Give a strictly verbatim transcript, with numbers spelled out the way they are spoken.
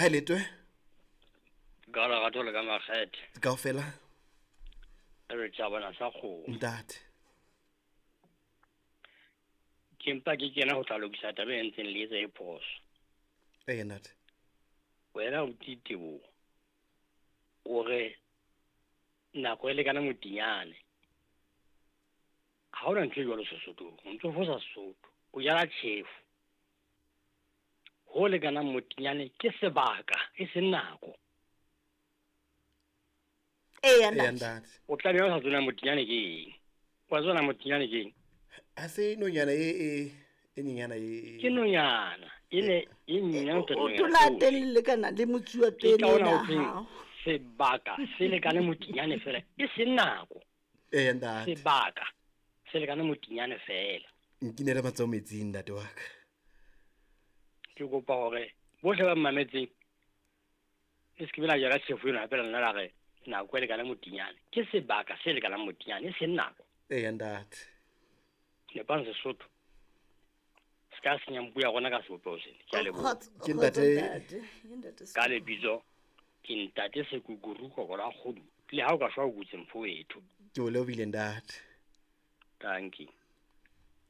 Ha e letwe. Ka lerato le ka makgethe. Kaofela. Re tjabana sa kgomo. Ntate. Ke mpa ke kena ho tla lokisa taba e ntseng le etsa e phoso. Ee ntate. Wena o Titebo. O re nako e lekana motinyane. Ha hona ntho e jwalo Sesothong, o ntso fosa Sesotho. O jala tjhefu. Ho lekanang motinyane ke sebaka e seng nako. Eya Eya ntate. ntate. O tla be o sa tsona motinyane ke eng? Wa tsona motinyane ke eng? Ha se nonyana e e e nyenyana e Ke nonyana. E ne e nyenyane ho feta O nonyana tola tsohle. teng le lekana le motsuwa Ke pele ka hona ena ho thweng hao. sebaka se lekane motinyane fela e seng nako. Eya ntate. Sebaka se lekane motinyane fela. Nkinele matsoho metsing ntate wa ka. Ke kopa hore bohle ba mmametseng le se ke be la jala tjhefu eno hape la nna la re nako e lekane motinyane. Ke sebaka se lekanang motinyane e seng nako. Eya ntate. Nepang Sesotho. Se ka senyang puo ya rona ka sebopeho sena. Ke a leboha. Kgotso- Ke kgotso ntate- ntate. Ke ntate Ka Sekuku. lebitso ke ntate Sekukuru Kokola Kgodu. Le ha o ka shwa o kutse mfowethu. Ke o lebohile ntate. Thank you.